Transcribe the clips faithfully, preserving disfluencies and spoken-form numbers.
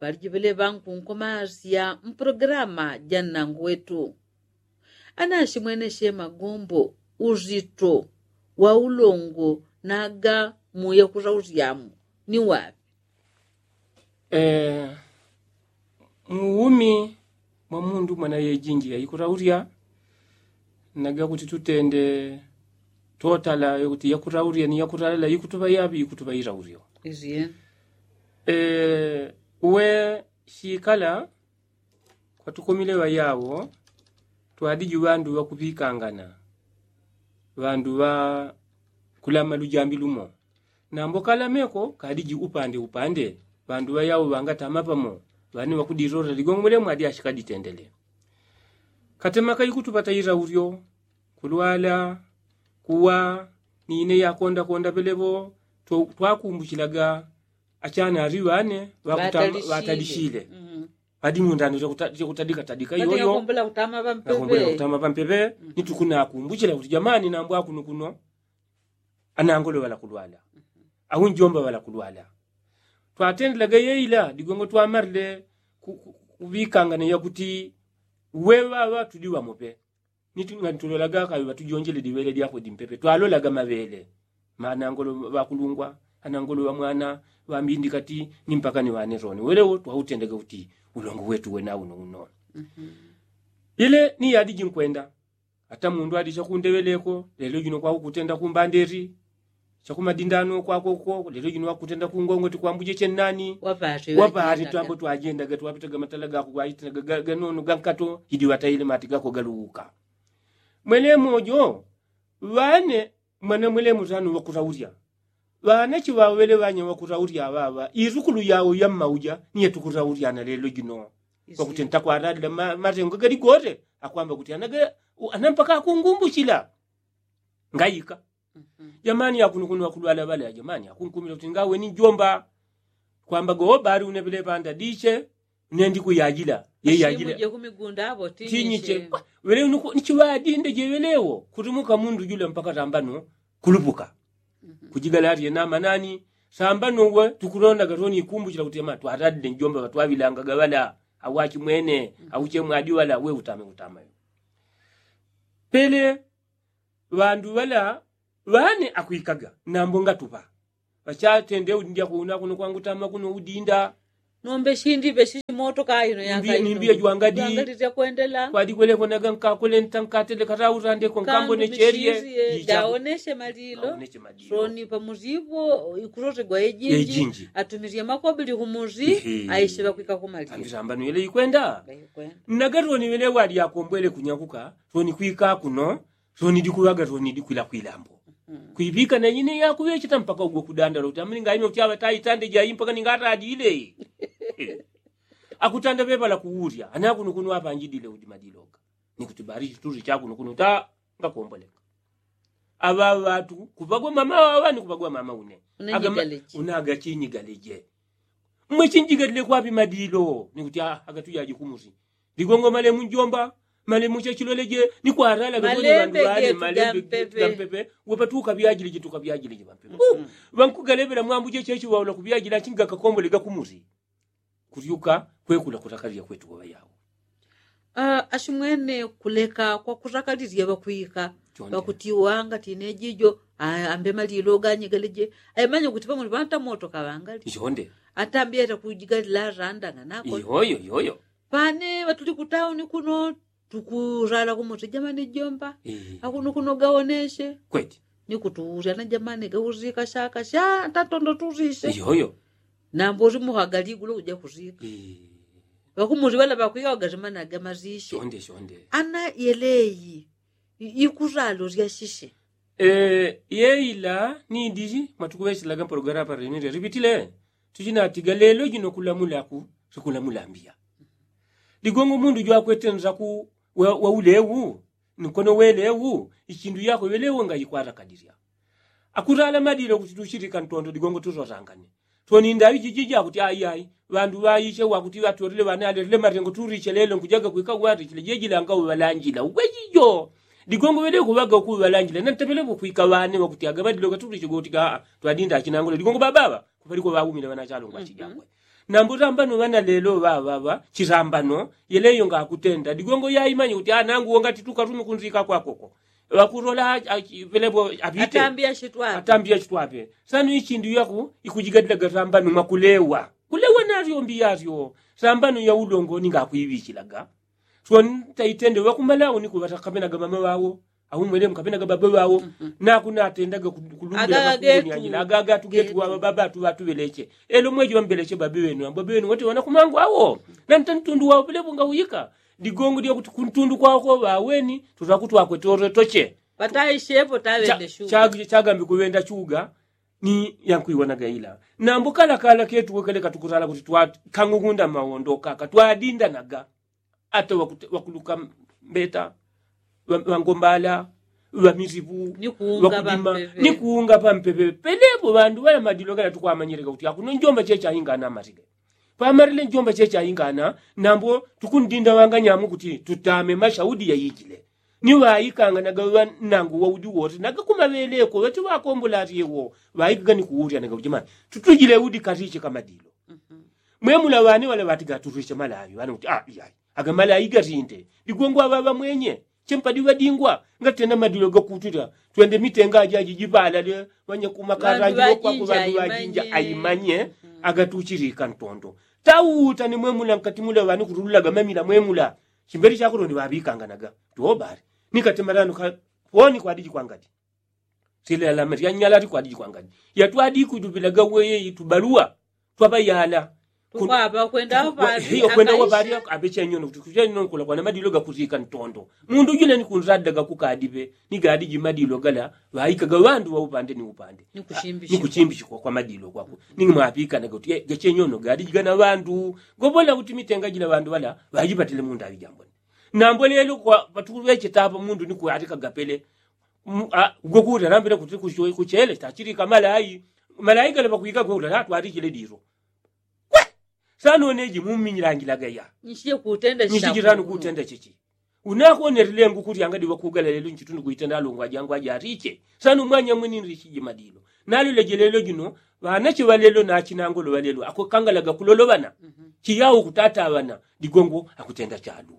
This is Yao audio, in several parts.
Ŵalijivele ŵankunkomasya mpulogilama ja nnangu wetu. Anashimweneshe magombo uzito wa ulongo naga muya kutausyamu ni waŵi? Muumi mwa mundu mwana yejinji yaikutaulya. Naga kuti tutende totala yokuti yakurawurya ni yakuralala ikutuŵa yaŵi ikutuŵa irawuryo. We shikala kwatukomile ŵayawo twadiji ŵandu ŵakuŵikangana, ŵandu ŵakulama lujambi lumo. Nambo kalameko kadiji upande upande, ŵandu ŵayawo ŵangatama pamo. Ŵane ŵakudilolwa ligongo mwelemo adi ashikaditendele. Katemaka ikutupata iraulyo, kulwala, kuwa, ni ine yakondakonda pelepo. Twakumbuchilaga achanali ŵane ŵatalishile. Adi mundano chakutadikatadika iyoyo. Nakumbula kutama pampepe. Ni tukunakumbuchila kuti jamani nambo akunukuno anangolo ŵalakulwala, au njomba ŵalakulwala. Twatendelaga yeila digongo twamalile kuŵikangana yakuti we ŵaŵa tudi ŵamope. Ni ngani tulolaga kaŵi ŵatujonjele diŵele dyakwe dimpepe twalolaga maŵele. Manangolo ŵakulungwa, anangolo ŵamwana, ŵambindikati, ni mpaka ni ŵane roni welewo twautendaga kuti ulongo wetu wena uno uno. Ile ni yadiji nkwenda. Ata mundu adi chakundeŵeleko lelo jino kwakukutenda kumbanderi, chakumadindano kwakoko lelo jino wakutenda kungongoti kwambuje chennani. Wapati twambo twajendaga twapitaga matala gako gwaitendaga ganono gankato. Idi ŵataile mati gako galuwuka. Mwelemo jo ŵane mwana mwelemo tano ŵakuraulya. Ŵanachi ŵaŵele ŵanya ŵakuraulya ŵaŵa isukulu yao yammauja ni yatukuraulya na lelo jino. Kwakutenda kwaralila matengo galigote akwamba kuti anampaka akungumbuchila. Ngaika jamani yakunukuno ŵakulwala ŵale ajamani akunkumila kuti ngaweni njomba. Kwamba go bali uneŵele ŵanda diche nendikuyajila yeyajila. Tinyiche ŵele unuku ni chiŵadinde jeŵelewo kutumuka mundu jula mpaka tambano kulupuka. Kujigalalye namanani sambano we tukulondaga toni ikumbuchila kuti ama twaradile njomba ŵatwaŵilangaga ŵala au achimwene au chemwadi ŵala we utame utamayo. Pele ŵandu ŵala ŵane akwikaga nambo ngatupa. Ŵachatende udindya kuno akuno kwangutama kuno udinda. Nombe shindipe shishimoto kaino yakaino nimbiya jwangadi. Kwadikweleko naga nkakule ntankatele kataurandeko nkambo necherie. Daoneshe malilo. Soni pamuzipo ikulotegwa ejinji atumirie makobili kumuzi. Aishe ŵakwika kumalilo ambisambano yele ikwenda. Naga toni wele wadi akombwele kunyakuka toni kwika kuno. Toni dikuŵaga toni dikwila kwilambo. Kwiŵika na ine yakuŵecheta mpaka ugwe kudandala kuti amini ngaime kuti aŵa taitande jai mpaka ningatadile. Akutanda ŵeŵala kuwurya anakunukuno apanjidile udi madiloga. Ni kuti bali chituri chakunukuno ta ngakomboleka. Aŵa ŵatu kuŵagwa mama waŵa ni kuŵagwa mama une. Unaga chinyigaleje. Mwe chinjigalile kwapi madilo ni kuti agatujaji kumusi. Ligongo malemu njomba malemu chechiloleje ni kwarala gagonyo ŵandu ŵane malembe gampepe. Wepatuka ŵyajilije tuka ŵyajilije ŵampepe. Ŵankugalevela mwambuje chechiwaula kuŵyajila achingakakombole gakumusi. Kulyuka kwekula kutakalilya kwetu waŵa yawo. Ashimwene kuleka kwakutakalilya ŵakwika ŵakuti wanga tine jijo. Ambe malilo ganyegeleje. Aimanya kuti pamuli ŵantamoto kaŵangali. Ata ambe yata kujigalila randa nganako. Iyoyo iyoyo. Pane ŵatuli kutauni kuno tukurala kumusi jamani jomba. Akuno kuno gaoneshe kweti. Ni kutuwusya na jamani gauzika shaka sha tatondo tuzishe. Iyoyo. Nambo uli muhagali igulo uja kuzika. Ŵakumusi ŵala ŵakwika ŵagasimanaga mazishe. Ana yeleyi ikuralo lyashishe. Yeila ni disi mwatukuŵeselaga mpologalamu parenile lipitile. Tuchinatiga lelo jino kulamulaku sikulamula mbiya. Ligongo mundu jwakwete nzaku wa ulewu nkono welewu. Ichindu yako welewu ngayikwarakadirya. Akurala madilo kuti tuchilika ntondo ligongo tusosangane. Toni ndawi jijiji akuti ayi ayi. Ŵandu ŵaiche wakuti ŵatolile ŵane aletile matengo tuliche lelo nkujaga kwika watichile jejilanga uŵalanjila ugwejijo. Ligongo welewu kuŵaga ukuŵalanjila nantepelepo kwika ŵane wakuti agaŵadiloga tuliche gotika. Twadinda achinangule ligongo babaŵa. Kupaliko ŵaumile ŵanachalongo achijangwe. Nambo sambano ŵana lelo ŵaŵaŵa chisambano yeleyo ngakutenda digongo yaimanye kuti anangu wongati tukarume kunzika kwakoko. Ŵakulola pelepo apite atambiya chitwape. Sanu ichindu yaku ikujigadila gasambano mwakulewa kulewa naryo mbiyaryo. Sambano yaulongo ningakwiŵichilaga. Swantaitende ŵakumalawo nikuŵata kapenaga mama ŵawo. Aumwelemu kapenaga baba ŵawo. Nakunatendaga kulumbila gakunyanyila agaga tugetu ŵababa tuŵatuŵeleche. Elo mweji ŵambeleche babi ŵenu ambo babi ŵenu wote ŵanakumangu awo. Nantantundu wawo pelepo ngauyika digongo dyakuti kuntundu kwawoko ŵaweni. Tutakutwakwe toretoche. Pataishepo taŵende shuga. Chagambi kuŵenda chuga. Ni yankwiwonaga ila nambo kalakala ketu wekeleka tukusala kuti twakang'ung'unda mawondo kaka twadindanaga. Ata ŵakuluka mbeta ŵangombala ŵamisipu ŵakudima ni kuunga pampepe. Pelepo ŵandu ŵala madilo gala tukwamanyileka kuti akuno njomba chechaingana amarile. Pamarile njomba chechaingana. Nambo tukundinda ŵanganyamu kuti tutame mashaudi yaijile. Ni ŵaikanganaga ŵanangu waudi wote nagakumaŵeleko ŵati ŵakombola atyewo. Ŵaikaga ni kuulyanaga kuti mani tutujile udi katiche kamadilo. Mwemula ŵane ŵala ŵatiga aturwishe malawi ŵane kuti a iyai. Agamalawi gatinde digongo aŵaŵa mwenye. Chempadi ŵadingwa ngatenda madilo gakutulya. Twende mitenga ajaji jipalale ŵanyakumakata ajilokwako ŵandu ŵajinja aimanye. Agatuchilika ntondo tauta ni mwemula nkati mula ŵane kutululaga mamila mwemula. Chimbeli chakuloni ŵaŵikanganaga tuobali. Nikati malano kawoni kwadiji kwangati. Silelame lyanyala likwadi jikwangani yatwadi kudupilaga weye itubaluwa twaŵayala. Tukwapa kwenda wapali aŵechenyono kuti kuchenyono kulakwana madilo gakusika ntondo. Mundu jule ni kunzadaga kukadipe ni gadi jimadilo gala ŵaikaga ŵandu ŵaupande ni upande. Ni kuchimbishikwa kwa madilo kwako. Ningi mwapikanaga kuti gachenyono gadi jigana ŵandu. Gobola kuti mitenga jila ŵandu ŵala ŵajipatile mundu aŵijambone. Nambo lelo kwa patuŵecheta apa mundu ni kuatikaga pele. Gwe kuuta nambile kuti kuchele tachilika malayi. Malayi gale pakwika gwe uta natwalichile dilo. Kwe sano neji muminyilangila gaya. Nchijirano kutenda chichi. Unakonelile ngukuti angadi wakugala lelo nchitundu kuitenda alongwa jangwa jariche. Sano mwanya mwini nrichiji madilo. Nalile jilelo jino ŵanache ŵalelo nachinangolo ŵalelo akukangalaga kulolo ŵana. Chiyau kutata ŵana digongo akutenda chalu.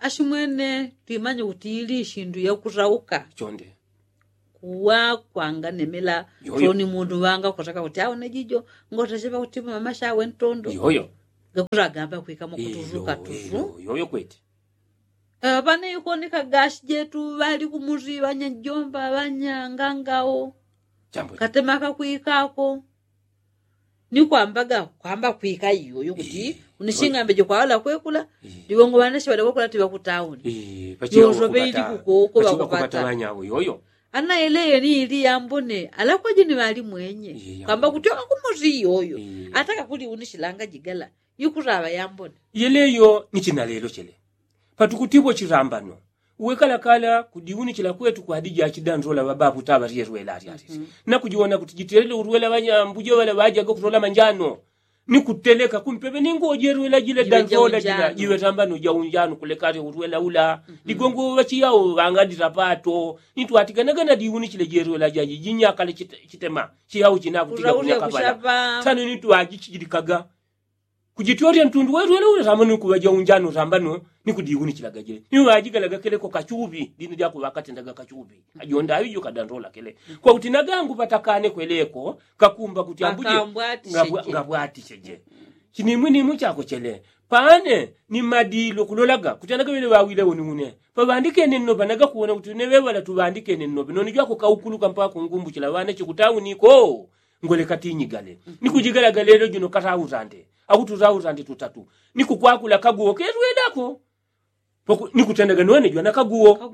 Ashimwene twimanye kuti ili ishindu yakurauka chonde. Kuwa kwanganemela choni mundu ŵanga kutaka kuti aone jijo ngotachepa kuti mama shawe ntondo. Yoyo. Gakuragamba kwikamo kutuzuka tuzu. Yoyo kweti. Ŵane yukoneka gashi jetu ŵali kumuzi ŵanyajomba ŵanyangangao. Katemaka kwikako. Ni kwambaga kwamba kwika iyoyo kuti unishingambeje kwawala kwekula. Ndiwongo ŵanashi ŵalya kwekula tiŵa kutauni. Yosoŵe ili kukoko ŵakupata ŵanyawo yoyo. Ana eleyo ni ili yambone alakwaje ni ŵali mwenye kwamba kuti oka kumusi iyoyo. Ataka kuli unishilanga jigala ikutaŵa yambone. Yeleyo ni china lelo chele. Patukutipo chilambano. Uwekalakala kudiunichila kwetu kwadija chidandola ŵabapu taŵa lyelwela alyalisi. Nakujiwona kuti jitelele ulwela ŵanyambuje ŵala ŵajaga kutola manjano. Ni kuteleka kumpepe ningo jelwela jile dandola jila jiŵe tambano jaunjano kulekale ulwela ula. Ligongo ŵachiyawo ŵangadila pato. Nitwatiganaga nadiunichile jelwela jaji jinyakale chitema chiyawo chinakutika kunyakapala. Sano nitwajichijilikaga. Kujitolya ntundu welwele ule sambano nikuŵaja unjano sambano. Nikudiunichilaga jile niŵajigalaga keleko kachuŵi dini dyakuŵakatendaga kachuŵi. Ajonda aŵijo kadandola kele kwakuti nagangu patakane kweleko kakumba kuti ambuje ngabwaticheje. Chinimwinimwi chako chele pane ni madilo kulolaga kuti anagaŵele ŵawile uniune. Paŵandikene nnopa nagakuwona kuti une ŵeŵala tuŵandikene nnopa noni jwako kaukuluka mpaka kungumbuchila ŵana chikutauniko. Ngoleka tinyigale. Nikujigalaga lelo jino katautande akuti utautande tutatu. Nikukwakula kaguwo kelwelako. Nikutendaga none jwana kaguwo.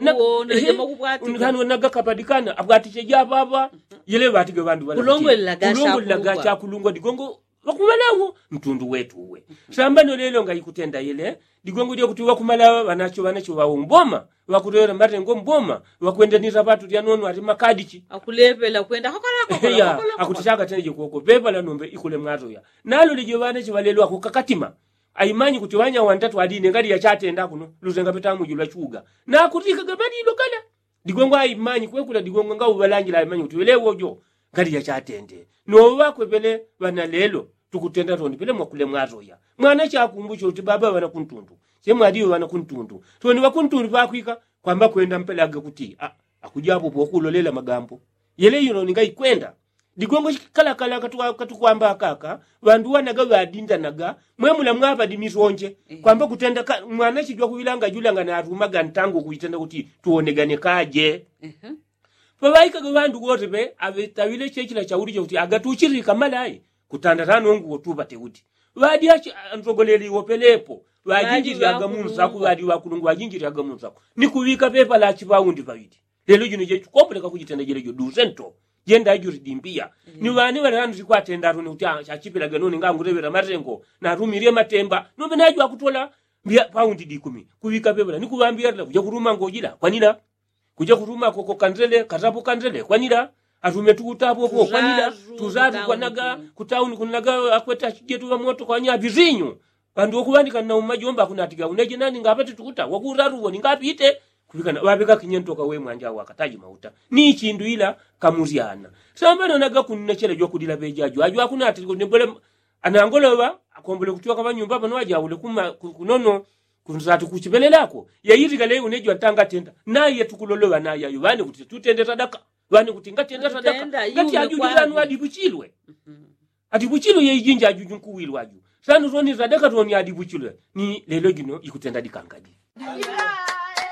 Nagakapadikana abwatiche jababa. Yele ŵatige ŵandu ŵalulongolelaga chakulungwa digongo. Ŵakuŵanawo ntundu wetu uwe. Sambano lelo ngaikutenda yele digongo dyakuti ŵakumala ŵanacho ŵanacho ŵawo mboma. Ŵakulewela matengo mboma. Ŵakwenda ni sapatu lyanono ati makadichi. Akulepela kwenda hakalako. Akuti chakatendeje koko pepa la nombe ikule mwatoya. Nalo lije ŵanacho ŵalelo akukakatima. Aimanyi kuti ŵanya wantatu aline ngali yachatenda kuno luzenga petamu jula chuga. Nakutikaga madilo kala digongo aimanyi kwekula digongo ngauŵalangila aimanyi kuti welewo jo. Ngali yachatende noŵakwepele ŵana lelo tukutenda toni pele mwakule mwatoya. Mwana chakumbucho uti baba ŵana kuntundu, chemwaliwe ŵana kuntundu. Toni ŵakuntundu pakwika kwamba kwenda mpelage kuti akujapo pokulolela magambo. Yele yuno ninga ikwenda digongo chikalakala katukwamba akaka. Ŵandu wanaga ŵadindanaga mwemula mwapa dimisonje kwamba kutenda mwana chijwa kuŵilanga julanga narumaga ntangu kuitenda kuti tuwonegane kaje. Paŵaikaga ŵandu wote pe aŵetaŵile chechila chauli chakuti agatuchilika malayi kutanda tanongu wotupate kuti ŵadi achi antogoleli wopelepo ŵajinjilyaga munsaku ŵadi ŵakulungu ŵajinjilyaga munsaku. Ni kuŵika pepa lachi paundi paŵili. Lelo jino jechukomboleka kujitenda jelejo duse nto jenda juli dimbiya. Ni ŵani ŵalelano sikwatenda atune kuti achachipilaga noni nganguleŵela matengo natumilye matemba nope najo akutola mbiya paundi dikumi. Kuŵika pepa la ni kuŵambiya lila kuja kuluma ngojila kwanila. Kuja kuluma koko kandele katapo kandele kwanila. Atume tukutapo kwanila. Tuzaru kwanaga kutauni kunaga akweta chijetu ŵamoto kwanya ŵizinyu. Ŵandu wokuŵanika nna umajomba akunatiga uneje nani ngapate tukuta wakuraru woni ngapite. Kuŵikana ŵaŵeka kinyentoka we mwanja wakataji mauta ni chindu ila kamusyana. Samba nonaga kunna chela jwakulila ŵejajo ajo akunatile kunembole. Anangoloŵa akombole kutyoka ŵanyumba ŵano ajaule kunono. Kunsatu kuchipelelako yaitika lei unejo antangatenda naye tukuloloŵa naye ayo ŵane kuti tutende tadaka. Ŵane kuti ngatenda tadaka ngati ajuju ŵanu adiŵuchilwe. Adiŵuchilwe yeijinja ajuju nkuwilwa aju sanu toni tadaka toni adiŵuchilwe. Ni lelo jino ikutenda dikangadi.